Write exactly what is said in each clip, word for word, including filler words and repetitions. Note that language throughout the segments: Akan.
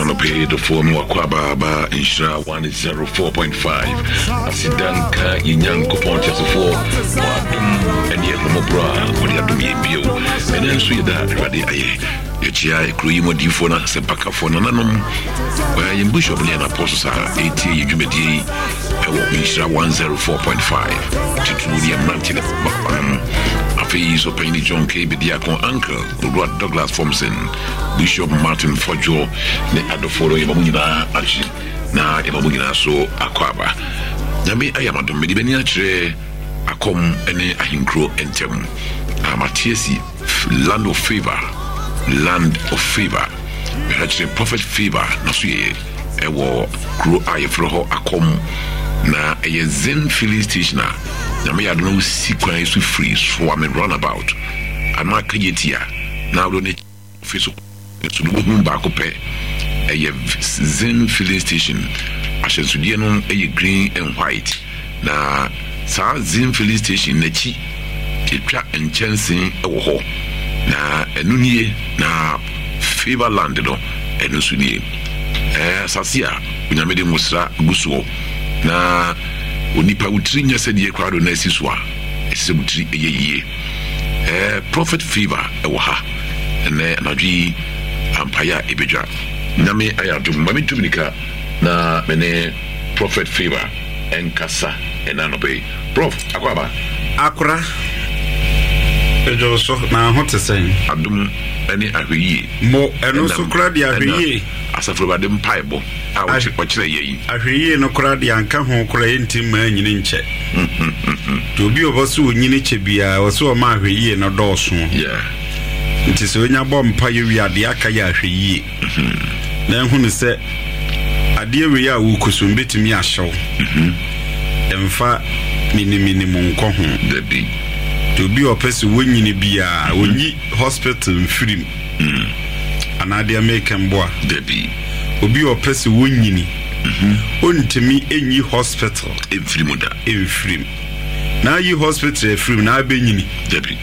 Anɔpa yi, dɔfoɔ, me wakɔ abaaba Nhyira ɔha nkron pɔint num. Asedanka yɛ Nyankopɔn teasefoɔ ɔadom ɛne ɛhomɔborɔ a wɔde adom yɛ bio. Ɛnɛ nso yɛda Awurade ayɛ. Yɛkyia kuro yi mu adiyifoɔ no, asɛmpakafoɔ, nananom, yɛn bishop ne yɛn apostles a ɛtie yɛ dwumadie yi ɛwɔ Nhyira ɔha nkron pɔint num, titiri ne yɛ mmerante ne babanom. Afei so Panyini John K Bediako, Uncle Owura Douglas Fomson, Bishop Martin Fɔdwo ne adɔfoɔ no, yɛma mo nyinaa akyi na yɛma mo nyinaa so akɔ aba. Nyame ayɛ amadom. Mede m'ani akyerɛ Akɔm ne Ahenkuro ntɛm na mate asi Land of Favour, Land of Favour. Mehwɛ kyerɛ Prophet Favour na so yɛyɛ ɛwɔ kuro a yɛfrɛ hɔ Akɔm na ɛyɛ Zen Filling Station a Nyame yɛ adom na wosi kwan so firi Soame roundabout anaa Kagyetia na wode ne fi so so no, wohu baako pɛ, ɛyɛ Zen Filling Station. Ahyɛnsodeɛ no ɛyɛ green and white, na saa Zen Filling Station n'akyi yɛtwa nkyɛnsee wɔ hɔ na ɛno nie. Na Favour Land no, ɛno nso nie. Ɛɛ asase a Onyame de nwosra gu soɔ na onipa wotiri nyɛ sɛdeɛ koraa do na asi so a ɛsɛ sɛ wotiri ɛyɛ yie. ɛɛ prophet Favour ɛwɔ ha ɛnɛ anadwo yi. Ampaeɛ a ɛbɛdwa, Nyame ayɛ adom ma mentu mirika na me ne Prophet Favour ɛnkasa ɛna anɔpɛ yi. Prof, akɔ aba. Akora ɛdwo so na ho te sɛn? Adom ne ahwɛyie. Mo ɛno nso kora de ahwɛyie. Asafo Awurade mpaebɔ a ɔkyerɛ yɛ yi. Ahwɛyie no kora de anka ho kora yɛnti mmaa nyini nkyɛ, nti obi a ɔbɔ so onyini kyɛ biara wɔ sɛ ɔma ahwɛyie no dɔɔso. Yeah. Nti sɛ onya bɔ mpa yɛ wie, adeɛ aka yɛ ahwɛyie na ɛhu no sɛ adeɛ wei a wokɔ so mbɛtumi ahyɛw, ɛmfa miniminim nkɔ ho. Dabi. Nti obi a ɔpɛ sɛ wɔnyini biara ɔnyi hospital mfirim anaa deɛ meka mboa. Dabi. Obi a ɔpɛ sɛ wɔnyini ɔntumi ɛnyi hospital ɛmfiri mu da. Ɛmfirim na ayi hospital afirim na abɛnyini. Dabi,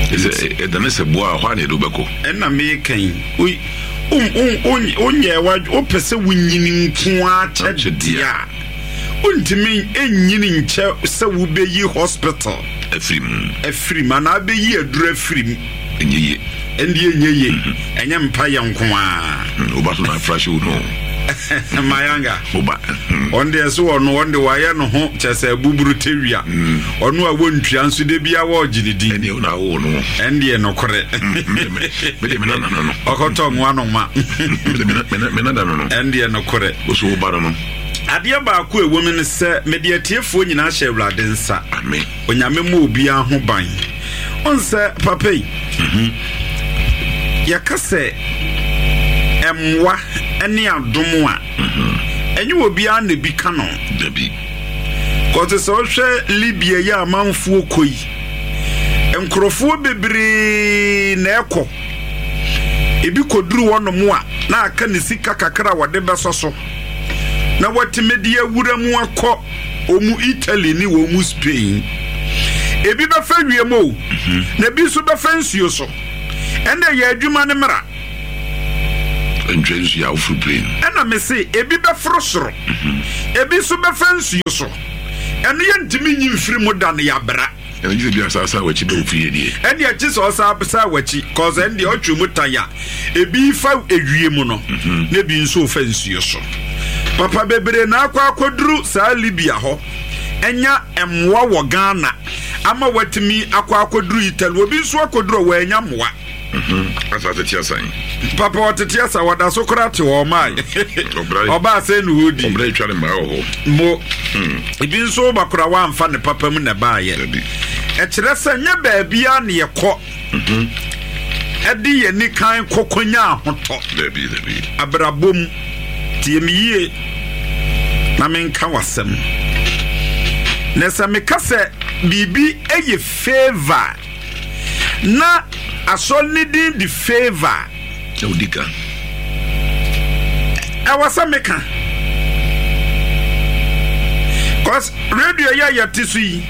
ɛsɛ ɛdane sɛ boa a hɔ a na yɛde wobɛkɔ. Ɛna meka yi, wonyɛ wopɛ sɛ wonyini nko ara kyɛ deɛ a wontumi ɛnyini nkyɛ sɛ wobɛyi hospital afiri mu. Afiri mu anaa bɛyi aduru afiri mu. Ɛnyɛ yie. Ɛnde ɛnyɛ yie, ɛnyɛ mpa yɛ nko ara. Woba so na afra hye wo no. Mayanga. Woba. Ɔno deɛ so ɔno ɔno de wayɛ no ho kyɛ sɛ buburu tewia. Ɔno a wɔntua nso de bia wɔregye ne din. Ɛneɛ wo na awo no. Ɛndeɛ nokorɛ. Mede me nana no no. Ɔkɔtɔ nwa no ma. Mede me nana no no. Ɛndeɛ nokorɛ. Wo so woba no no. Adeɛ baako a ɛwɔ mu ne sɛ mede atiefoɔ nyinaa hyɛ Awurade nsa. Amen. Onyame ma obiara ho ban. Ɔn sɛ papa yi, yɛka sɛ ɛmmoa ne adom a ɛnyɛ obiara na bi ka no. Dabi. Kɔte sɛ wohwɛ Libya yi a amanfoɔ kɔ yi, nkurɔfoɔ bebree na ɛkɔ. Ebi kɔduru hɔnom a na aka ne sika kakra a wɔde bɛsɔ so na wɔatumi de awura mu akɔ ɔmu Italy ne wɔn mu Spain. Ebi bɛfɛ wiem o, na ebi nso bɛfɛ nsuo so. Ɛnna yɛ adwuma ne mmara. Ntwa nsuo a woforo plane. Ɛna me se ebi bɛforo soro, ebi nso bɛfɛ nsuo so. Ɛno yɛ ntumi nyi mfiri mu da no yɛabra. Ɛno gye sɛ bi asaasa a wakyi bɛ wo fie deɛ. Ɛne akyi sɛ ɔsa sa w'akyi kɔsɛ ɛne deɛ ɔtwe mu tan a ebi fa ewie mu no na ebi nso fa nsuo so. Papa, bebree na akɔ akɔduru saa Libya hɔ ɛnya mmoa wɔ Ghana ama watumi akɔ akɔduru Italy. Obi nso akɔduru a wɔanya mmoa. Asa tete asan. Papa, ɔtete asa, wɔda so koraa te hɔ ɔmaa ɔbaa sɛ ne hɔ di. Ɔbrɛ twa ne mmaa wɔ hɔ. Mo ebi nso ba koraa wamfa ne papa mu na ɛbaayɛ. Dabi. Ɛkyerɛ sɛ nyɛ baabia ne yɛkɔ ɛde yɛn ni kan kɔkɔnya ahotɔ. Dabi, dabi. Abrabɔ mu, tie me yie na menka w'asɛm. Na sɛ meka sɛ biribi yɛ favour na asɔre ne din de Favour. Na wodi ka. Ɛwɔ sɛ meka cause radio yi a yɛte so yi,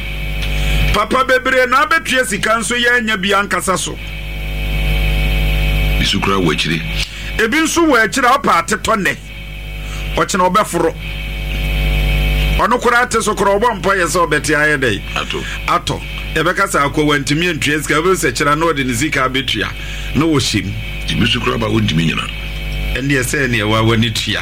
papa, bebree na abɛtua sika nso yɛanya bi ankasa so. Bi so koraa wɔ akyire. Ebi nso wɔ akyire a ɔpa atetɔ nnɛ, ɔkyena ɔbɛforo. Ɔno koraa te so koraa ɔbɔ mpa yɛ sɛ ɔbɛte ayɛ dɛ atɔ. Yɛbɛka sɛ akɔ wantumi antua sika, wobɛhu sɛ kyerɛ na ɔde ne sika abɛtua na wɔhyɛ mu. Ebi nso koraa ba wɔntumi nyina. Ɛndeɛ sɛ ɛneɛ wa w'ani tua.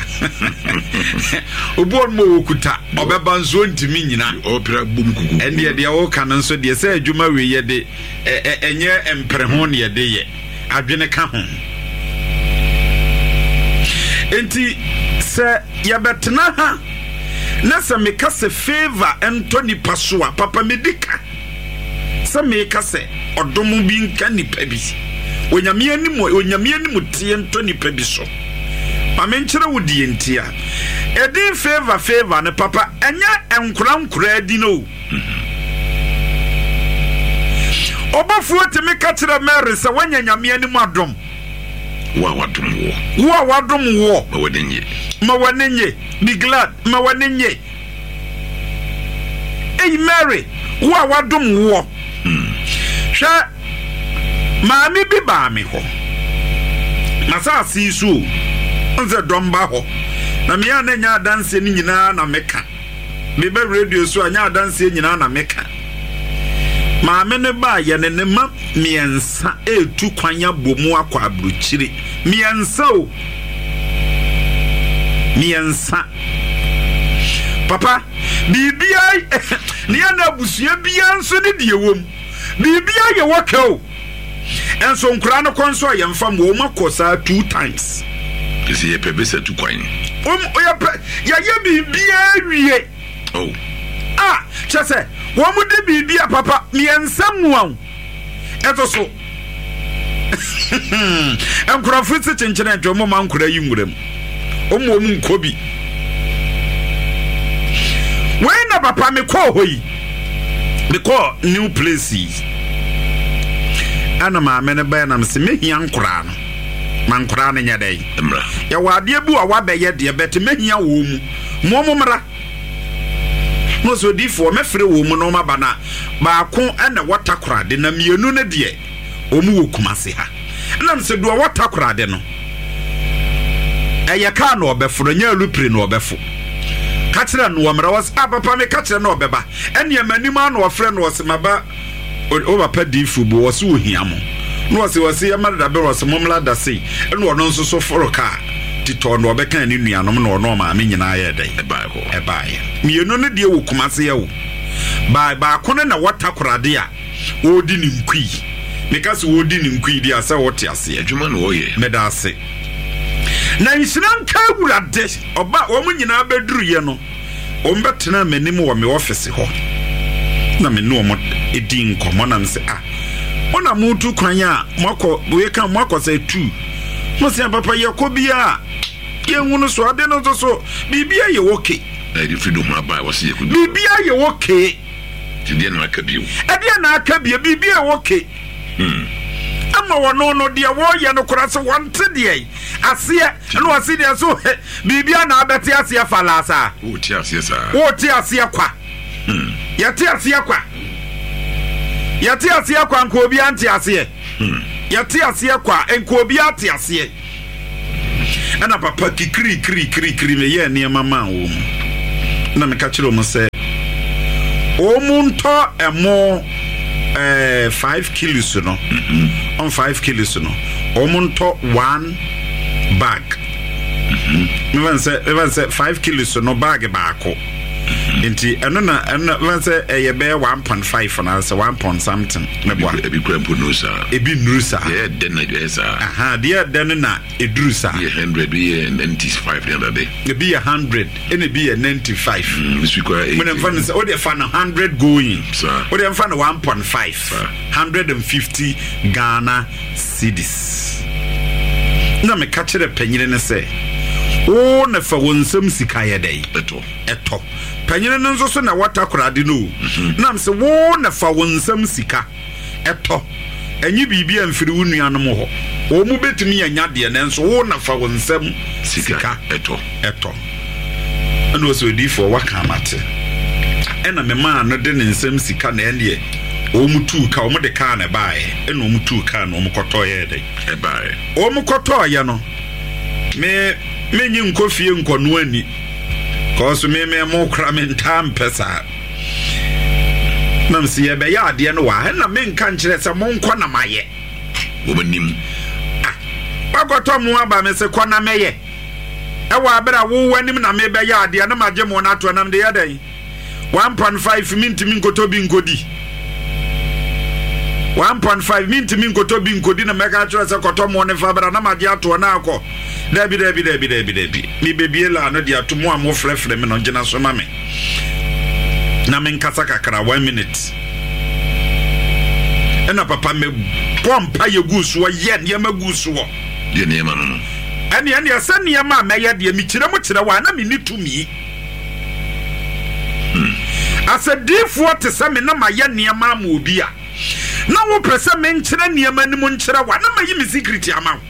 Obi wɔ no ma ɔkuta ɔbɛba nso ɔntumi nyina. Ɔpira bom kuku. Ɛndeɛ deɛ wɔka no nso deɛ sɛ adwuma wei yɛde ɛnyɛ mpere ho ne yɛde yɛ, adwene ka ho. Enti sɛ yɛbɛtena ha na sɛ meka sɛ favor ɛntɔ nipa so a, papa medi ka sɛ meka sɛ ɔdom bi nka nipa bi, Onyame anim, Onyame anim teɛ ntɔ nipa bi so. Ma menkyerɛ wo deɛ nti a ɛdin favor favor no, papa, ɛnyɛ nkora nkora adi no. Ɔbɔfoɔ tumi ka kyerɛ Mary sɛ woanya Nyame anim adom. Wo a wadom woɔ, wo a wadom woɔ, ma w'ani nye. Ma w'ani nye, be glad, ma w'ani nye. Eyi Mary, wo a wadom woɔ. Hwɛ, maame bi baa me hɔ n'asase yi so o, nsɛ dɔm ba hɔ na mmea na nya adanseɛ no nyinaa na meka. Meba radio so a, nya adanseɛ nyinaa na meka. Maame no baa yɛ ne ne ma mmiɛnsa etu kwan abɔ mu akɔ aburokyire. Mmiɛnsa o, mmiɛnsa, papa. Biribiara ne yɛ na abusua biara nso ne deɛ wɔ mu, biribiara yɛ wɔ kɛ o. Ɛnso nkwaraa no kɔ nso a, yɛmfa mu wɔn akɔ saa two times. Kɛsɛ yɛpɛ bɛsɛ tu kwan. Wɔn yɛpɛ yɛyɛ biribiara wie. Oh. A kyɛ sɛ wɔn de biribi a, papa, mmiɛnsa mu a ɛto so nkurɔfo si kyenkyene ntwe wɔn ma nkwaraa yi nwura mu, wɔn wɔn nkɔ bi. Wei na papa mekɔɔ hɔ yi, mekɔɔ new place yi, ɛna maame no bɛyɛ nam sɛ mehia nkoraa no ma nkoraa no nyɛ dɛn? Mmra. Yɛwɔ adeɛ bi a wabɛyɛ deɛ bɛte mehia wɔ mu mo mo mmra na ɔsɛ odiifoɔ mɛfrɛ wɔ mu na ɔma ba na baako ɛna wɔ Takorade na mmienu no deɛ wɔn wɔ Kumase ha. Ɛnam sɛ deɛ ɔwɔ Takorade no ɛyɛ kaa na ɔbɛfo no, nyɛ alupire na ɔbɛfo. Ka kyerɛ no wɔ mmara wɔ sɛ, ah, papa, meka kyerɛ no ɔbɛba. Ɛnneɛ m'anim a na ɔfrɛ no, ɔsɛ maba o papa diifo bu, ɔsɛ ohia mo na ɔsɛ ɔsɛ yɛma dada bɛ, ɔsɛ mommla da sei. Ɛna ɔno nso so foro kaa titɔ na ɔbɛka ne nuanom na ɔno ɔmaame nyinaa yɛ dɛn? Ɛbae hɔ. Ɛbaeɛ. Mmienu no deɛ wɔ Kumase yɛ o baa baako no na wɔ Takorade a wɔredi ne nkui. Meka sɛ wɔredi ne nkui deɛ a, sɛ wɔte aseɛ. Adwuma na wɔyɛ. Meda ase na nhyira nka Awurade. Ɔba wɔn nyinaa bɛduruyɛ no, wɔn bɛtena m'anim wɔ me ɔfisi hɔ na me ne wɔn di nkɔmmɔ nam sɛ, ah, wɔn na motu kwan a moakɔ wei ka moakɔ sɛ tu mo sɛ, papa, yɛkɔ biara yɛnhu no so ade no nso so biribiara yɛ okay. Na yɛde firi do ho aba a wɔsɛ yɛkɔdu. Biribiara yɛ okay. Nti deɛ na aka bio? Ɛdeɛ na aka bio? Biribiara yɛ okay. Hmm. Ama wɔno no deɛ wɔreyɛ no koraa sɛ wɔnte deɛ aseɛ ɛna wɔse deɛ so biribia na abɛte aseɛ fa laa saa. Wote aseɛ saa. Wote aseɛ kwa. Hmm. Yɛte aseɛ kwa, yɛte aseɛ kwa, nka obiara nte aseɛ. Hmm. Yɛte aseɛ kwa, nka obiara te aseɛ. Ɛna papa kikirikirikirikiri meyɛɛ nneɛma maa wɔ mu na meka kyerɛ wɔn sɛ wɔn mu ntɔ ɛmo ɛɛ five kilos no on five kilos no, wɔn ntɔ one bag. Mefa sɛ mefa sɛ five kilos no bag baako, nti ɛno na ɛno na mefa sɛ ɛyɛ bɛyɛ one point five na sɛ one point something mɛboa. Ebi kura mpo no saa. Ebi nnuru saa. Deɛ ɛdɛ na ɛyɛ saa. Aha, deɛ ɛdɛ no na eduru saa. Bi yɛ hundred, bi yɛ ninety five ne adade. Ebi yɛ hundred ɛna ebi yɛ ninety five. Bi so kura eighty. Mo de nfa no sɛ o de fa no hundred going. Saa. O de nfa no one point five. Saa. Hundred and fifty Ghana cedis. Na meka kyerɛ panyini no sɛ wo na fa wɔn nsam sika yɛ dɛ. Ɛtɔ. Ɛtɔ. Panyini no nso so na wɔta korade no o. Nam sɛ wo na fa wɔn nsam sika ɛtɔ, ɛnye biribi a mfiri wo nuanom hɔ, wɔn mu bɛtumi anya deɛ, nanso wo na fa wɔn nsam sika ɛtɔ. Ɛtɔ. Ɛna ɔsɛ odiifoɔ waka amate. Ɛna memaa no de ne nsam sika na ɛneɛ wɔn mu tuu ka, wɔn de kaa na ɛbaeɛ, ɛna wɔn tuu kaa na wɔn kɔtɔɔ yɛ dɛ. Ɛbaeɛ. Wɔn kɔtɔɔyɛ no Me menyi nkɔ fie nkɔno ani kɔɔ so me me mo kora me ntaa mpɛ saa nam sɛ yɛbɛyɛ adeɛ no wɔ ha, ɛna menka nkyerɛ sɛ monkɔ na mayɛ. Wɔn anim. Ah, wakɔtɔ mo aba, me sɛ kɔ na mɛyɛ. Ɛwɔ abere a wowɔ anim na mebɛyɛ adeɛ na magye mo no ato nam de yɛ dɛn? one point five mentumi nkɔtɔ bi nkɔdi. one point five mentumi nkɔtɔ bi nkɔdi na mɛka kyerɛ sɛ kɔtɔ mo ne fa bra na magye atoɔ na akɔ. Dabi, dabi, dabi, dabi, dabi, mebɛbie laa no de ato mo a mofrɛfrɛ me no, gyina so ma me na menkasa kakra, one minute. Ɛna papa mebɔ mpa yɛ gu soɔ, yɛ nneɛma gu soɔ. Deɛ nneɛma no no. Ɛne ɛneɛ sɛ nneɛma a mɛyɛ deɛ, mekyerɛ mu kyerɛ wɔ a na menni tumi asɛdiifoɔ te sɛ me na mayɛ nneɛma ama obi a na wopɛ sɛ menkyerɛ nneɛma no mu nkyerɛ wo a, na mayi me secret ama wo.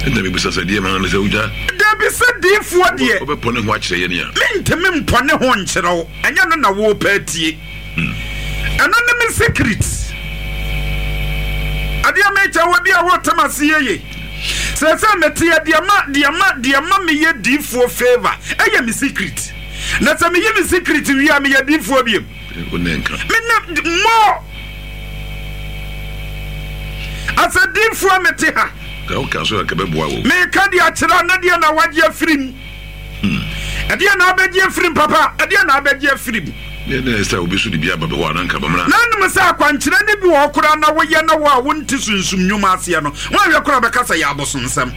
Ɛnna mebisa sɛ deɛ ma no sɛ wogya. Dabi, sɛ diifoɔ deɛ wobɛpɔ ne ho akyerɛ yɛne a mentumi mpɔ ne ho nkyerɛ wo. Ɛnyɛ no na wopɛ atie. Ɛno ne me secret. Adeɛ mekyɛ wɔ bi a wotem ase yeye sɛ sɛ meteɛ deɛ ma deɛ ma deɛ ma meyɛ diifoɔ favour ɛyɛ me secret, na sɛ meyi me secret wie a, meyɛ diifoɔ biem? Wo ne nka. Mene mmɔ asɛ diifoɔ mete ha. Ka woka so a ka bɛboa wo. Meka deɛ akyerɛ na deɛ na wagye afiri mu, ɛdeɛ na abɛgye afiri mu, papa, ɛdeɛ na abɛgye afiri mu. Ne ne sɛ obi so de bi aba bɛ hɔ a na nka bɛmmra. Na anom sɛ akwankyerɛ ne bi wɔ hɔ koraa na woyɛ na wo a wonte sunsum nnwuma aseɛ no, woahwɛ koraa bɛka sɛ yɛ abosonsɛm.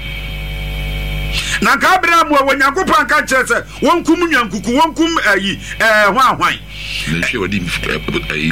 Na nka Abraham a Onyankopɔn anka nkyerɛ sɛ wɔnkum nwankuku, wɔnkum ayi ɛɛ ho ahwan. Nantwie a wɔde ayi.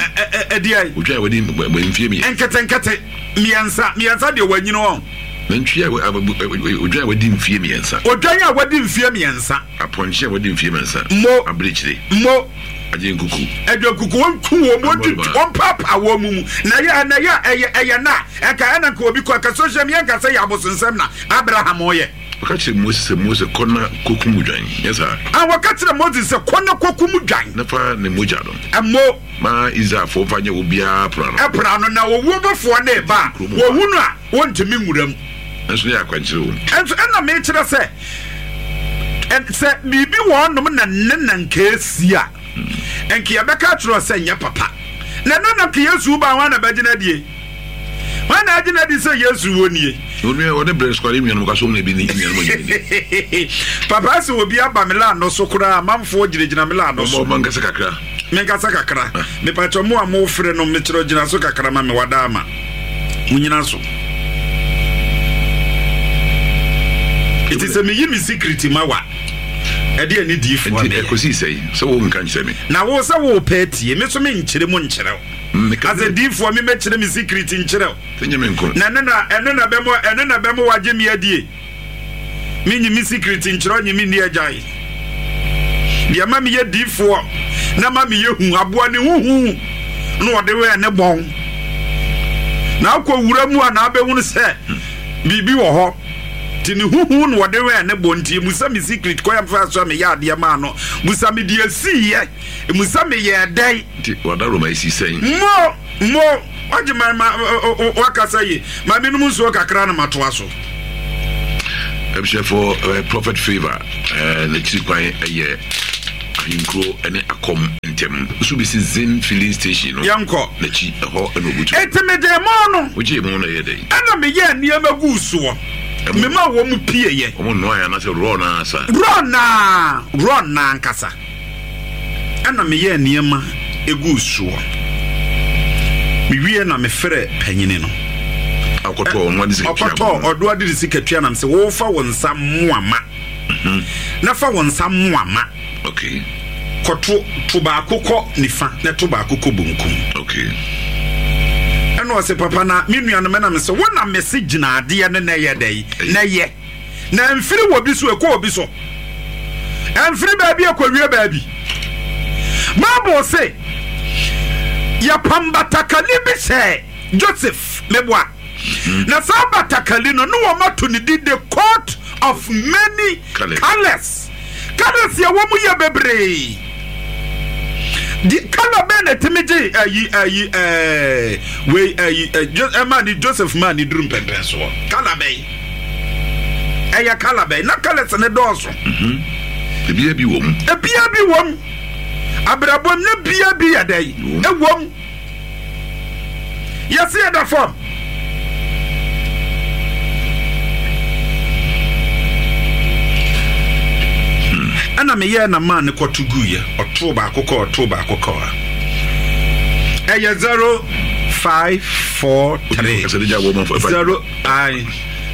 Ɛdeɛ. Odwan a wɔde mfie mmiɛ. Nketenkete mmiɛnsa mmiɛnsa deɛ wɔanyini wɔn. Nantwie a odwan a wɔde mfie mmiɛnsa. Odwan a wɔde mfie mmiɛnsa. Apɔnkye a wɔde mfie mmiɛnsa. Mo. Abirekyire. Mo. Agye nkuku. Adwankuku, wɔnku wɔn, wɔntwitwi, wɔmpaapaa wɔn mu mu na ɛyɛ na ɛyɛ ɛyɛ ɛyɛ na ɛka ɛna nka obi kɔ ɛka social media nka sɛ yɛ abosonsɛm na Abraham ɔyɛ. Wɔka kyerɛ Mose sɛ, Mose, kɔ na kɔkum dwan, nyɛ saa? A wɔka kyerɛ Moses sɛ kɔ na kɔkum dwan. Na fa ne mogya no ɛmo ma Israelfoɔ fa nyɛ obiara pono ano. Ɛpra no na owuo bɔfoɔ ne ba a wɔhu no a wɔntumi nwura mu. Ɛnso ne yɛ akwankyerɛ wɔ mu. Ɛnso ɛna mekyerɛ sɛ sɛ biribi wɔ hɔnom na ne na nka esi a nka yɛbɛka kyerɛ sɛ nyɛ papa na ɛno na nka Yesu ba wɔn na bɛgyina die, wɔn na agyina di sɛ Yesu wɔ nie. Onua ɔne brɛ sukari nuanom ka so na ebi ne nuanom nyɛ ni. Papa, sɛ obi aba me laa no so koraa, amanfoɔ gyinagyina me laa no so. Ɔmo nkasa kakra. Menkasa kakra. Mepakyɛ mo a mofrɛ no, mekyerɛ gyina so kakra ma me wada ama monyina so. Ɛti sɛ meyi me secret ma wa ɛde ani diifoɔ. Nti ɛkɔsii sɛi sɛ wo nka nkyerɛ me? Na wo sɛ wopɛ tie me so, menkyerɛ mu nkyerɛ wo. Asɛ diifoɔ memɛkyerɛ me secret nkyerɛ wo. Sɛ nyɛ me nko. Na ɛno na ɛno na bɛmɔ ɛno na bɛmɔ wagye me adie. Menyi me secret nkyerɛ, ɔnye me nni agyae. Deɛ ma meyɛ diifoɔ na ma meyɛ hu aboa ne huhu na ɔde wɛn ne bɔn na akɔ wura mu a na abɛhunu sɛ biribi wɔ hɔ, nti ne huhu na ɔde wɛn ne bɔn. Nti musa me secret kɔ yɛmfa so a meyɛ adeɛ maa no, musa me deɛ siiɛ, musa meyɛ dɛn. Nti wada Roma esi sɛn? Mo mo wagye ma ma wakasa yi ma menom nsuo kakra na matoa so. Abusuafoɔ, uh, Prophet Favour uh, n'akyiri kwan ɛyɛ Ahenkuro ne Akɔm ntɛm nso bi si Zen Filling Station no. Yɛnkɔ. N'akyi ɛhɔ ɛna obutu. Enti mede mo no. Wogye mu no ɛyɛ dɛn? Ɛna meyɛ nneɛma gu soɔ, mema wɔ mu pieyɛ. Ɔmo nnoa yɛ anaasɛ raw naa sa? Raw naa, raw naa nkasa. Ɛna meyɛ nneɛma egu soɔ, mewie na mefrɛ panyini no. Akɔtɔ ɔno ade sika tua. Ɔkɔtɔ ɔdo ade de sika tua nam sɛ wɔfa wɔn nsa mmoama na fa wɔn nsa mmoama. Okay kɔto to baako kɔ nifa na to baako kɔ bonkum. Okay ɛna ɔsɛ, papa, na me nuanom, ɛna me sɛ wo na mese gyina adeɛ no na ɛyɛ dɛ na ɛyɛ na mfiri wɔ bi so ɛkɔ obi so, ɛmfiri baabi ɛkɔwie baabi. Bible se yɛpam batakali bi hyɛ Joseph, meboa, na saa batakali no ne wɔn ato ne di the coat of many colours. Colours, colours yɛ wɔ mu yɛ bebree. Di colour bɛn na ɛtumi gye ayi ayi ɛɛ wei ayi ɛ Jo ɛma ni Joseph maa ni duru mpɛmpɛn soɔ? Colour bɛn? Ɛyɛ colour bɛn na colours ne dɔɔso. Ebia bi wɔ mu. Ebia bi wɔ mu. Abrabɔ ne bia bi yɛ dɛ. Ɛwɔ mu. Yɛsi ɛda fam. Ɛna meyɛ na maa ne kɔto guiɛ. Ɔtoo baako kɔ, ɔtoo baako kɔ a. Ɛyɛ zero five four three. Zero I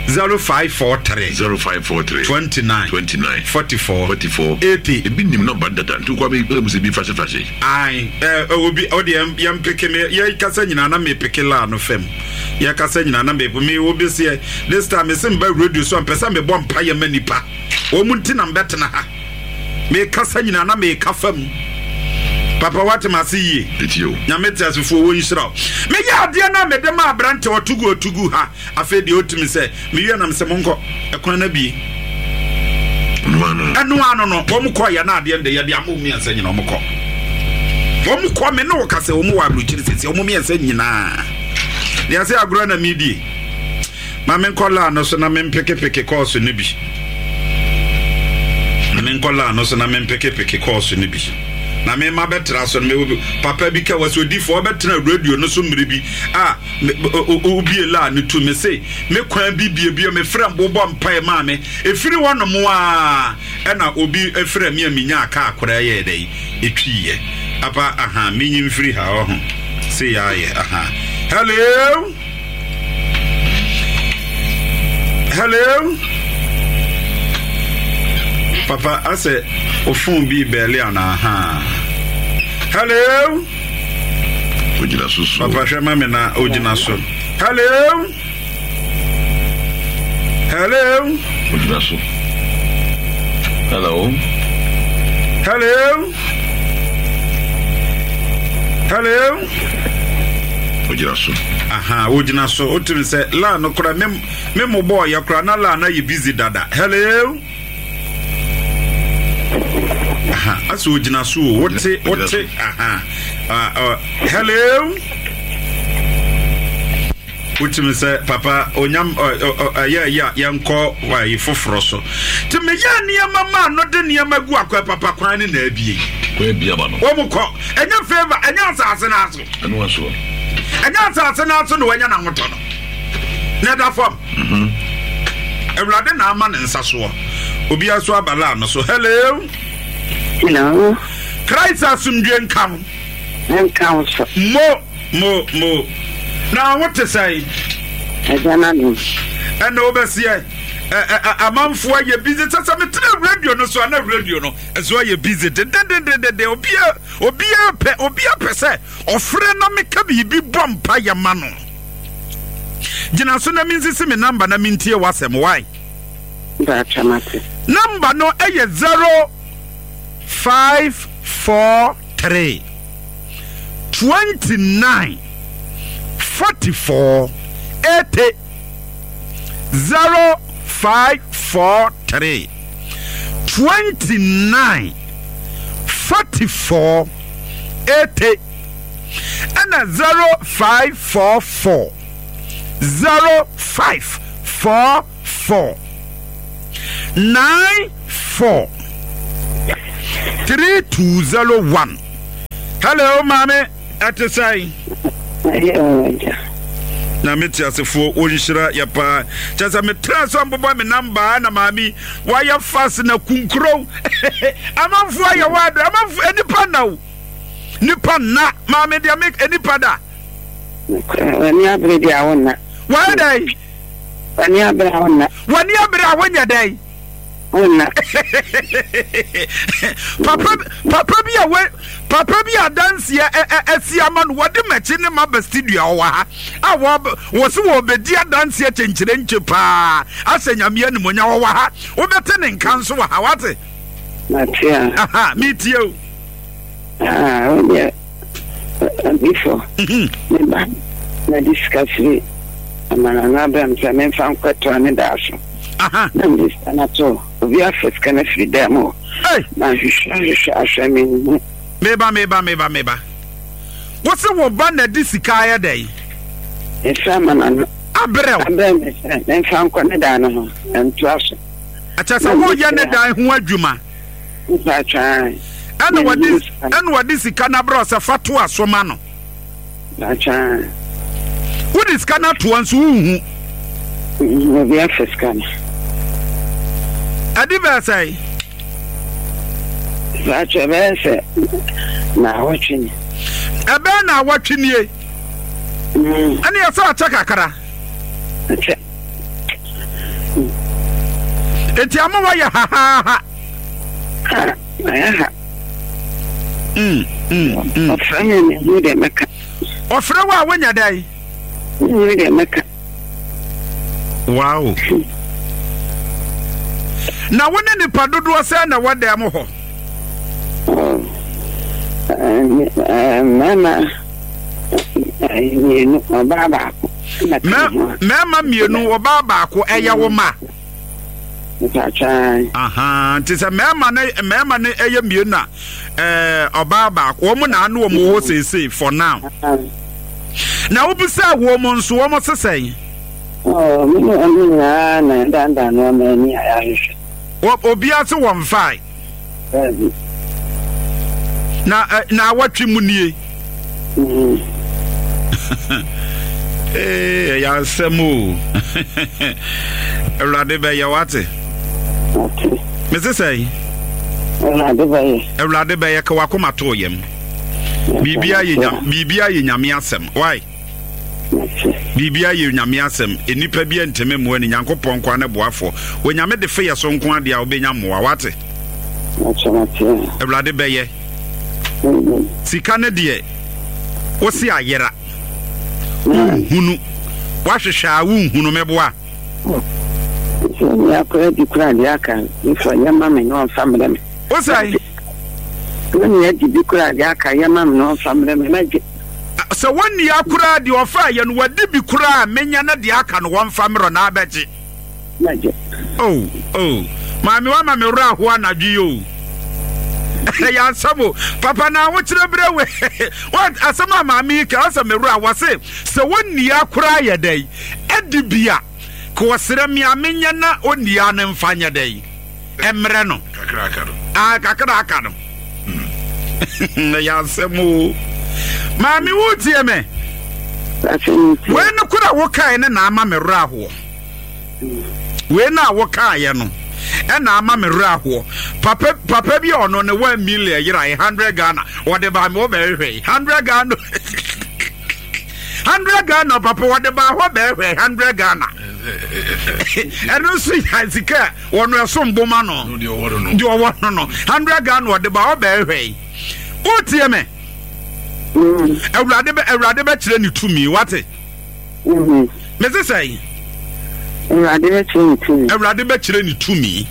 zero five four three. Zero five four three. Twenty nine. Twenty nine. Forty four. Forty four. Eighty. Ebi nim nɔmba dada nti kwa mi ɛmu bi fase fase. Ayi ɛ obi ɔdi yɛn yɛn peke mi yɛ kasa nyinaa na mi peke laa no fam yɛ kasa nyinaa na mi mi obi seɛ this time mi se mba radio so mpɛ sɛ mi bɔ mpa yɛ ma nipa wɔn mu nti na mbɛ tena ha mi kasa nyinaa na mi ka fam. Papa what ma se yie. Nyame te asefo wo nhyira wo. Me yɛ adeɛ na me de ma abrante otugu otugu ha. Afi de otimi sɛ me wie nam sɛ monkɔ ekwan na bie. Eno ano no wo mkɔ yɛ na adeɛ de yɛ de ama miensa nyina wo mkɔ. Wo mkɔ me ne wo kase wo mo wa abruchiri sisi wo miensa nyina. De ase agorɔ na me die. Ma me nkɔ la no so na me mpeke peke course no bi. Me nkɔ la no so na me mpeke peke course no bi. Na me ma betra so me papa bi ka was odifo obetra radio no so mmere bi ah obi la ne to me say me kwan bi bie bi me frɛ mbobɔ mpa ma me efiri wono mo a e na obi efrɛ me aminya aka akora ye dai etwiye apa aha menyi mfiri ha oho say ya ye aha. Hello, hello papa ase ofun bi bele ana aha. Hello. Ojina so so. Papa hwe ma me na ojina so. Hello. Hello. Ojina so. Hello. Hello. Hello. Ojina so. Aha, ojina so. Otimi se la no kora me me mo boy ya kora na la na ye busy dada. Hello. Aha, aso ojina so wote wote aha. Uh, hello. Wotimi se papa onyam ya ya yanko wa ifoforo so. Ti me ya niam ma no de niam agu akwa papa kwan ne na abie. Kwa bia ba no. Wo mo kɔ enya favor enya asase na aso. Eno aso. Enya asase na aso no wanya na hoto no. Na da fam. Mhm. Ewurade na ama ne nsa so. Obi aso abala no so. Hello. Hello. Christ asumdwe nka. Nka so. Mo mo mo. Now what to say? Ejana no. And overseer amanfo ye busy sasa me tena radio no so na radio no so ye busy de de de de de obi obi pe obi pe se ofre na me ka bibi bompa ye ma no. Gina so na me nsisi me number na me ntie wasem why? Ba chamate. Number no eye zero five four three twenty-nine forty-four eighty zero five four three twenty-nine forty-four eighty and a zero five four four zero five four four nine four three two zero one. Hello, mommy. At the sign. Na meti asefo onhyira ya pa chasa me tra so mbobo me number na mami why ya fast na kunkro amanfo ya wado amanfo enipa na wo nipa na mami dia make enipa da wani abre dia wonna why dai wani abre wonna wani abre wonya dai wonna papa papa bi a we papa bi a dance ya esi ama no wode machi ne ma ba studio wa ha a wo wo se wo bedi a dance ya chenchire nche pa ase nyame animonya wo wa ha wo bete ne nka nso wa ha wate na tia aha mi tie o ah o ye before me ba na discuss amana na ba msa me fa nkwato ne da so aha na mi na to obi afeska na firi dem o na hwehwɛ ahwɛ me meba meba meba meba wo se wo ba na di sika ye dai e sa mana abrɛ abrɛ me se me fa nkɔ ne da no ho nto aso Akyɛ sɛ woyɛ ne dan ho adwuma. Ɛna wɔde ɛna wɔde sika no abrɛ sɛ fa to aso ma no. Wode sika no atoa nso wonhu. Obi afa sika no. Ɛde bɛɛ sɛe? Sɛ ɛbɛyɛ sɛ na awɔtwe ni. Ɛbɛyɛ na awɔtwe nie. Ɛne yɛ sɛ akyɛ kakra. Akyɛ. Enti ama wɔyɛ hahaha. Mayɛ ha. Ɔfrɛ me mehu deɛ mɛka. Ɔfrɛ wo a wonya dɛn? Mehu deɛ mɛka. Wow. Na wo ne nipa dodoɔ sɛ na wɔ dan mu hɔ? Mmarima mmienu, ɔbaa baako. Mmarima mmienu, ɔbaa baako, ɛyɛ wo ma? Aha, nti sɛ mmarima ne mmarima ne ɛyɛ mmienu a, ɛɛ ɔbaa baako, wɔn na ano wɔn wɔ seesei for now. Na wobisa wɔn nso wɔn sesɛn? Oh, me ne wɔn nyinaa na ɛdandan nneɛma ani a yɛahwehwɛ. Obiara se wɔn fae. Na na awɔtwe mu nie. Ee, ɛyɛ asɛm o. Awurade bɛyɛ wate. Mese sɛn? Awurade bɛyɛ. Awurade bɛyɛ ka wakoma too yam. Biribiara yɛ nyame, biribiara yɛ nyame asɛm. Why? Biribiara yɛ nyame asɛm. Nnipa bi ntɛmɛ mmoa ni Nyankopɔn nko ne boafoɔ. Onyame de fe yɛ so nko ade a wobɛnya mmoa wate. Awurade bɛyɛ. Sika ne deɛ wosi ayera. Wonhunu. Wahwehwɛ a wonhunu meboa. Sɛ ni akora di kora de aka nfa yɛ ma me na ɔmfa mmerɛ me. Wo sɛn? Ni adi bi kora de aka yɛ ma me na ɔmfa mmerɛ me na gye. Sɛ wɔnni akora de ɔfa yɛ no wadi bi kora menya na de aka no wɔmfa mmerɛ na abɛgye. Na gye. Oh, oh. Maame wa ma me wura ho anadwo yi o. Ya asɛm papa na wo kyerɛ brɛ we. What asɛm a maame yi ka asɛm me wura wɔ se sɛ wɔnni akora yɛ dɛn adi bia ka wɔsrɛ me a menya na onni a ne mfa nyɛ dɛn emre no kakra aka no ah kakra aka no ya asɛm o. Maame wo tie me we no kora wo kae ne na ama me wura ho we na wo kae no e na ama me wura ho papa papa bi ono ne one million yira hundred Ghana wo de ba me wo be hwe hundred Ghana hundred Ghana papa wo de ba ho be hwe hundred Ghana eno so ya sika wo no eso mboma no de owo no de owo no no hundred Ghana wo de ba ho be hwe wo tie me Awurade be Awurade be kire ne tumi wate mhm me se sei Awurade be kire ne tumi Awurade be kire ne tumi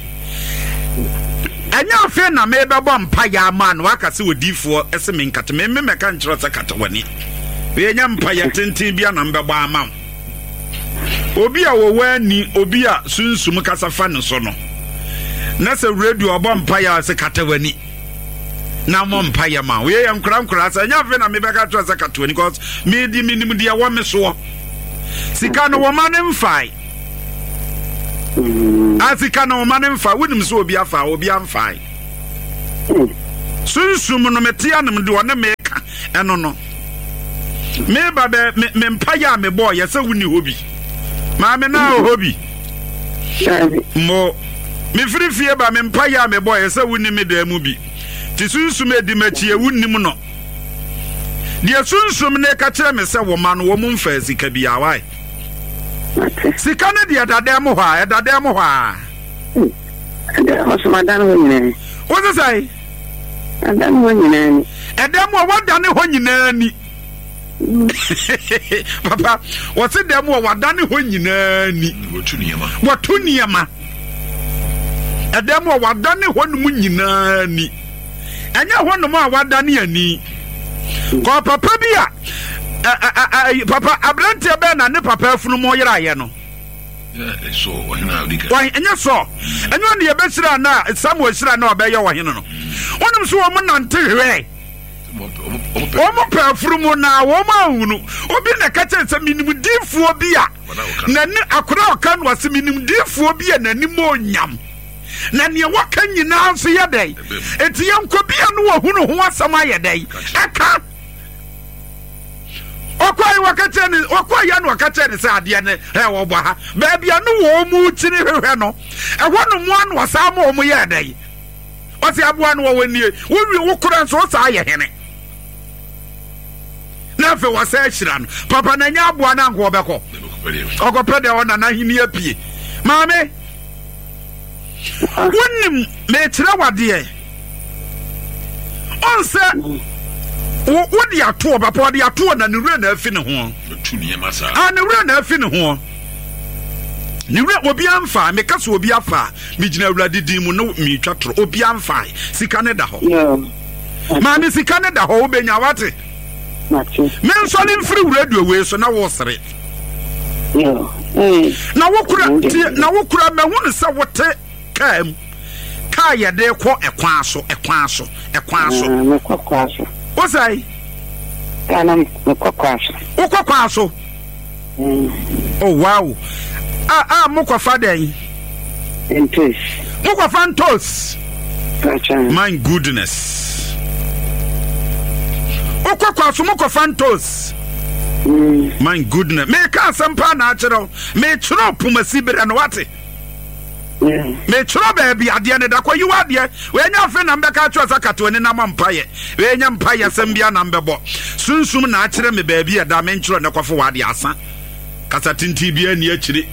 enya afe na me be bɔ mpa ya ma no aka se odifo ese me nkate me me meka nkire se kata wani we nya mpa ya tenten bia na mbɛbɔ ama obi a wo wani obi a sunsum kasa fa ne so no na se radio ɔbɔ mpa ya se kata wani na mo mpa ya ma we ya nkura nkura se nya afe na me bɛka kyerɛ se kata wani cause me di minim de wo me so sika no wo ma ne mfai a sika no wo ma ne mfa wonim so obi afa obi amfai sunsum no metia no de one me ka eno no me ba be me mpa ya me boy ye se woni hobi ma me na hobi mo me firi fie ba me mpa ya me boy ye se woni me da mu bi ti sunsum edi machi e wonim no de sunsum ne ka kire me se wo ma no wo mfa sika bia wai sika ne de dada mu hɔ a dada mu hɔ a da ho so madan ho nyina wo se sai adan ho nyina ni edam wo wadane ho nyina ni papa wo se dam wo wadane ho nyina ni wotu niema wotu niema edam wo wadane ho no mu nyina ni enya ho no mu a wadane ani ko papa bi a papa abrante be na ne papa afunu mo yera ye no so why enya so enyo ne yebesira na Samuel sira na obeye wo hene no wonum so wo nante hwe wo mo pa afuru mu na wo ma ahunu obi na ka che se minimdifuo bi a na ne akora oka no ase minimdifuo bi a nanim onyam Na nea wɔka nyinaa nso yɛ dɛn? Enti yɛnkɔ bia no wɔhunu ho asɛm ayɛ dɛn? Ɛka. Ɔkɔe wɔka kyerɛ ne ɔkɔe no wɔka kyerɛ ne sɛ adeɛ ne ɛ wɔbɔ ha. Baabi a no wɔn mu kyini hwehwɛ no, ɛhɔ no mu ano ɔsaa ma wɔn yɛ dɛn? Ɔsi aboa no wɔwɔ nie. Wowie wo kora nso ɔsaa yɛ hene. Na afei wɔsɛ ahyira no. Papa na nya aboa no anko ɔbɛkɔ. Ɔkɔpɛ deɛ ɔna n'ahenni apue. Maame, wonim mekyerɛ wadeɛ. Ɔnsɛ wode atoɔ papa ɔde atoɔ na ne wura na afi ne ho. Ah, ne wura na afi ne ho. Ne wura obi amfa, meka sɛ obi afa, megyina Awurade din mu no metwa toro. Obi amfa, sika ne da hɔ. Maame sika ne da hɔ wobɛnya wate. Mensɔre mfiri radio wei so na wosere. Na wokura na wokura mahu ne sɛ wote kaa mu. Kaa yɛde kɔ ɛkwan so ɛkwan so ɛkwan so. Mekɔ kwa so. Wosɛe? Kaa na mekɔ kwa so. Wokɔ kwa so? Oh wow. Ah ah mokɔfa dɛn? Ntos. Mokɔfa ntos. My goodness. Wokɔ kwa so mokɔfa ntos. My goodness. Meka asɛm paa na akyerɛ wo. Mekyerɛ pomasi berɛ no wate. Mekyerɛ baabi adeɛ ne da kɔ yiwa adeɛ. Wenya afe na mbɛka akyerɛ sɛ katoa ni na ma mpayɛ. Wenya mpayɛ sɛm bia na mbɛbɔ. Sunsum na akyerɛ me baabi ɛda menkyerɛ ne kɔfo wɔ adeɛ asa. Kasa tintin bia ni akyire.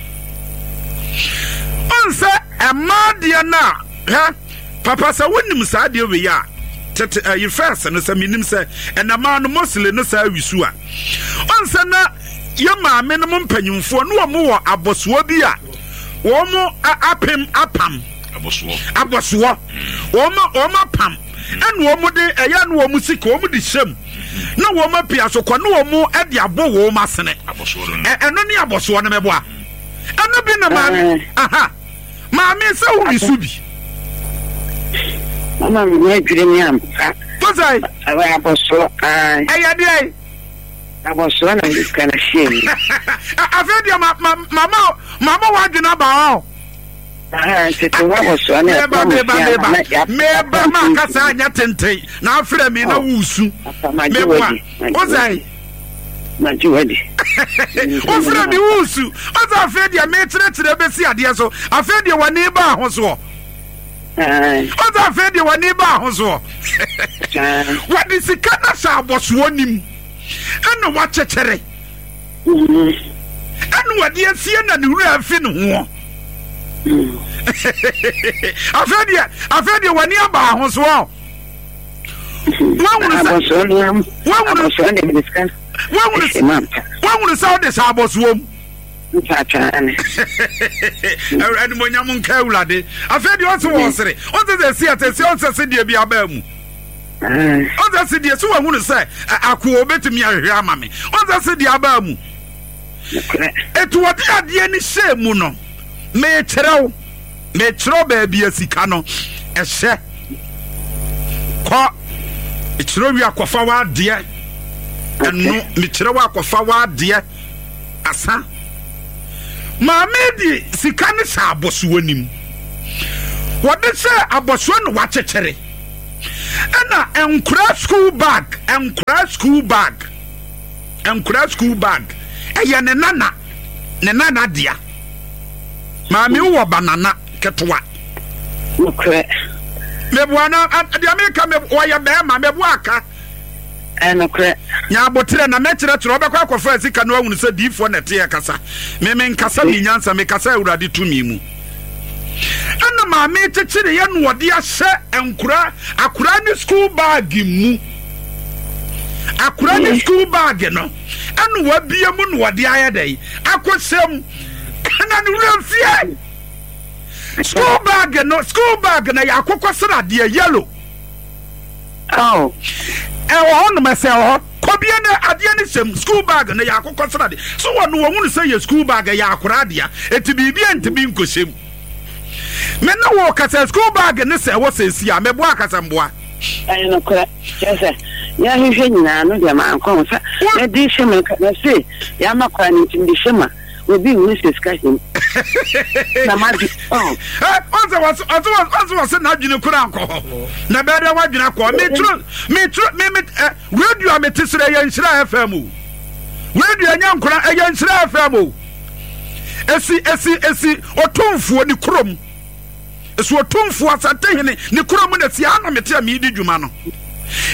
Ɔnsɛ ɛma adeɛ na hɛ papa sɛ wonim saa adeɛ wei a tete ɛyi first no sɛ menim sɛ ɛnama no mostly no saa wisu a. Ɔnsɛ na yɛ maame no mo mpanyimfoɔ no wɔ mo wɔ abɔsoɔ bi a wɔn mo apem apam abosoɔ abosoɔ wɔn wɔn apam ɛna wɔn de ɛyɛ no wɔn sika wɔn de hyɛm na wɔn apia so kɔ na wɔn ɛde abɔ wɔn asene ɛno ne abosoɔ no mɛboa ɛno bi na maame aha maame sɛ wo wisu bi mama mi na adwiri mi ampa tɔsai ɛwɔ abosoɔ ɛyɛ deɛ abosoɔ na mi sika na hyɛ mi afei deɛ ma ma mama mama wadwena ba hɔ. Meba meba meba meba ma kasa anya tenten na afrɛ mi na wusu meboa ɔsɛn wofrɛ mi wusu ɔsɛ afei deɛ mekyerɛkyerɛ bɛsi adeɛ so afei deɛ w'ani ba ho soɔ ɔsɛ afei deɛ w'ani ba ho soɔ wɔde sika na hyɛ abɔsoɔ nim ɛna wakyekyere ɛna wɔde asie na ne wura afi ne ho. Afei deɛ afei deɛ w'ani aba ahosoɔ. Wahunu sɛ wode hyɛ abɔsoɔ mu. Animonyam nka Awurade. Afei deɛ ɔse wɔ sere ɔsɛ sɛ si ɛsɛ sɛ ɔsɛ sɛ deɛ bi abaa mu. Ɔsɛ sɛ deɛ sɛ wahunu sɛ akoa obɛtumi ahwehwɛ ama me. Ɔsɛ sɛ deɛ abaa mu. Etu wɔde adeɛ ne hyɛ mu no mekyerɛw mekyerɛw baabi asika no ɛhyɛ kɔ mekyerɛw wi akɔfa w'adeɛ ɛno mekyerɛw akɔfa w'adeɛ asa maame di sika ne hyɛ abɔsoɔ nim wɔde hyɛ abɔsoɔ no wakyekyere ɛna nkura school bag nkura school bag nkura school bag ɛyɛ ne nana ne nana dea. Maame wo banana ketewa. Nokre. Meboa na deɛ meka me wɔyɛ bɛrima meboa aka. Nokre. Nya abotrɛ na mɛkyerɛkyerɛ wobɛkɔ akɔfa sika no ahunu sɛ diifoɔ na ɛteɛ kasa. Me me nkasa me nyansa me kasa Awurade tumi mu. Ɛna maame kyekyere yɛ no wɔde ahyɛ nkura akura ne school bag mu. Akura ne school bag no ɛna wabie mu na wɔde ayɛ dɛ akɔhyɛ mu. Na ne wura fie school bag no school bag na yɛ akokɔ sradeɛ yellow. Oh. Ɛwɔ hɔ nom ɛsɛ wɔ hɔ kɔbie no adeɛ no hyɛm school bag no yɛ akokɔ sradeɛ so wɔ no wɔhunu sɛ yɛ school bag yɛ akora adeɛ eti biribi ntumi nkɔhyɛ mu. Me ne wɔ kasa school bag ne sɛ ɛwɔ sɛ esi a mɛboa akasa mboa. Ɛyɛ nokorɛ kyerɛ sɛ yɛahwehwɛ nyinaa no deɛ mankɔ ho sɛ mɛde hyɛ mu na se yɛama kwan no nti mede hyɛ mu a Obi nhunu sɛ sika hyɛ mu. Na m'adwe ɔ. Ɔsɛ wɔsɛ ɔsɛ ɔsɛ wɔsɛ n'adwene kura akɔ hɔ. Na bɛyɛ dɛ w'adwene akɔ. Meturo meturo me me ɛ radio a mete srɛ yɛ Nhyira F M o. Radio ɛnyɛ nkora, ɛyɛ Nhyira F M o. Esi esi esi Otumfuo ne kurom. Esi Otumfuo Asantehene ne kurom na esi ana mete a meedi dwuma no.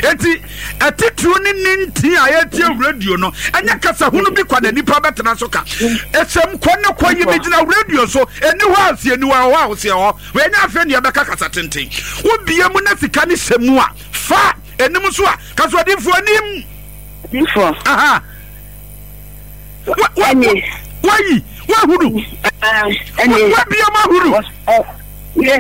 Eti ɛtitiriw ne ne nti a yɛtie radio no, ɛnyɛ kasa hunu bi kwa na nipa bɛtena so ka ɛsɛm kɔ ne kɔ yi. Megyina radio so, ɛni hɔ a sie ni hɔ a ɛwɔ a woseɛ hɔ wɔnyɛ. Afei ne yɛbɛka kasa tenten, wobie mu na sika ne hyɛ mu a, fa anim so a kasɔdifoɔ anim. Difoɔ. Aha. Wa- wa- Ɛnie. Wayi wahunu. Ɛnie. Wabie mu ahunu. Yɛ.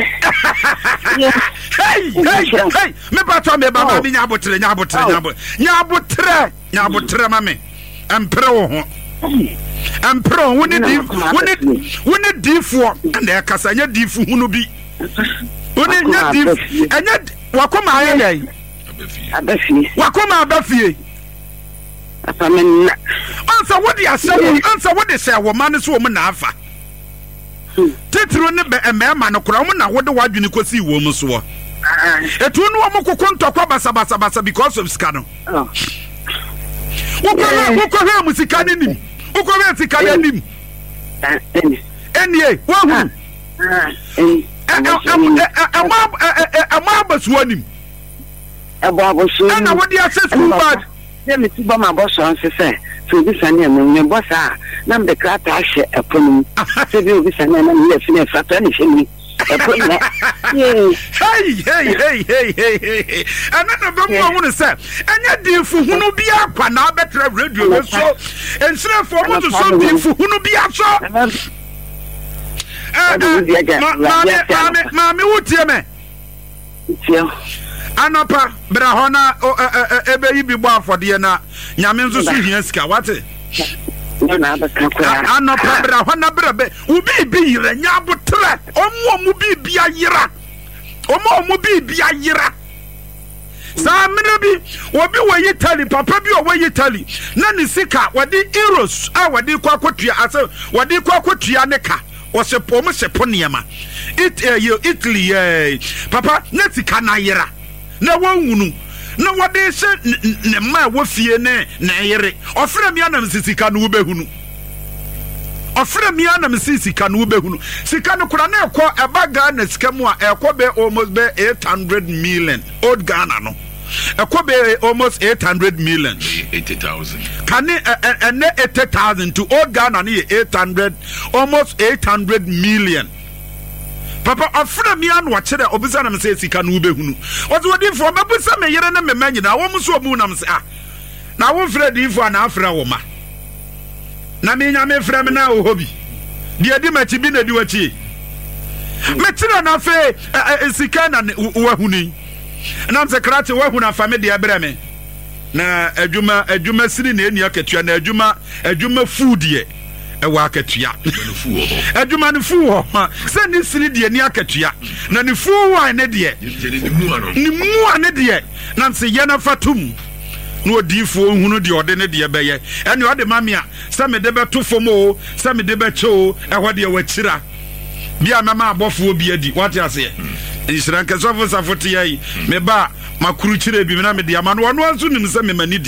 Yɛ. Hey, hey, hey, mepatɔ meba ma me nya abotrɛ, nya abotrɛ, nya abotrɛ, nya abotrɛ, nya abotrɛ ma me. Ɛmpere wo ho, ɛmpere wo ho. Wo ne di wo ne wo ne diifoɔ ɛna ɛkasa, ɛnyɛ diifo hunu bi. Wo ne nyɛ diif, ɛnyɛ wakoma ayɛ dɛn? Aba fie. Wakoma aba fie. Papa, me nna. Ansa wode ahyɛ wo, ansa wode hyɛ wo ma no so wɔ mu na afa titiri ne bɛ mmarima no koraa, wɔn na wode w'adwene kɔsii wɔn mu soɔ. Etu ne wɔn koko ntɔkwa basabasabasa because of sika no. Oh. Wokɔhwɛ, wokɔhwɛ mu sika no nim, wokɔhwɛ sika no anim. Ɛni. Ɛnie woahunu. Ɛni. Ɛmɔ abasuo anim. Ɛbɔ abosuo. Ɛna wode ahyɛ school bag. Sɛ me ti bɔ ma bɔ sɔn se sɛ sɛ obi sane a mu mebɔ saa a, na mede krataa hyɛ ɛpono mu sɛ bi obi sane a, na meyɛ fi no ɛfata ne hyɛ mu ɛpono na yee. Hey, hey, hey, hey, hey, hey! Ɛno na bɛmu ahunu sɛ ɛnyɛ diifo hunu bi akwa na abɛtena radio no so. Nsirɛfoɔ mo soso diifo hunu bi asɔ. Maame, maame, maame, wotie me? Tie. Anɔpa bra hɔ na ɛbɛyi bi bɔ afɔdeɛ na Nyame nso so hia sika, wate? Ne na abɛka koraa. Anɔpa bra hɔ na bra bɛ wo biribi yerɛ. Nya abotrɛ. Ɔmo ɔmo biribi ayera, ɔmo ɔmo biribi ayera. Saa mmerɛ bi, obi wɔ Italy, papa bi a ɔwɔ Italy na ne sika wɔde euros a wɔde kɔ akɔtua asɛ wɔde kɔ akɔtua ne ka, wɔsɛ wɔn hyɛ po nneɛma It, ɛyɛ Italy yɛ papa ne sika na ayera na wɔnwunu na wɔde hyɛ ne mma a ɛwɔ fie ne ne yere. Ɔfrɛ mi anam si sika no wobɛhunu. Ɔfrɛ mi anam si sika no wobɛhunu. Sika no kora na ɛkɔ ɛba Ghana sika mu a, ɛkɔ bɛ almost bɛ eight hundred million old Ghana no, ɛkɔ bɛ almost eight hundred million. Eighty thousand. Kane ɛnɛ eighty thousand to old Ghana no yɛ eight hundred, almost eight hundred million. Papa ɔfrɛ mi ano ɔkyerɛ ɔbisa nam sɛ sika no wobɛhunu. Ɔsɛ odiifoɔ, mɛbusa me yere ne me mma nyinaa, wɔn nso ɔmu nam sɛ, ah, na wofrɛ diifoɔ a na afrɛ wo ma na me Nyame frɛ me na wɔ hɔ bi deɛ di m'akyi bi na di w'akyi. Mekyerɛ no afei sika na wahunu yi nam sɛ krakye wahunu afa me deɛ brɛ me na adwuma adwuma sini na ɛni akatua na adwuma adwuma fuu deɛ ɛwɔ akatua. Adwuma no fuu hɔ sɛ ne sini deɛ ni akatua na ne fuu wa ne deɛ ne mua ne deɛ nam sɛ yɛ nafa tum na odiifoɔ nhunu deɛ ɔde ne deɛ bɛyɛ. Ɛne ɔde ma me a, sɛ mede bɛto fam o, sɛ mede bɛkyɛ o, ɛhɔ deɛ wakyira bi a mɛma abɔfoɔ bi adi. Wate aseɛ? Nhyira nkɛsɔfo safo teɛ yi meba a makuru kyerɛ bi na mede ama no. Ɔno nso nim sɛ mema ne di.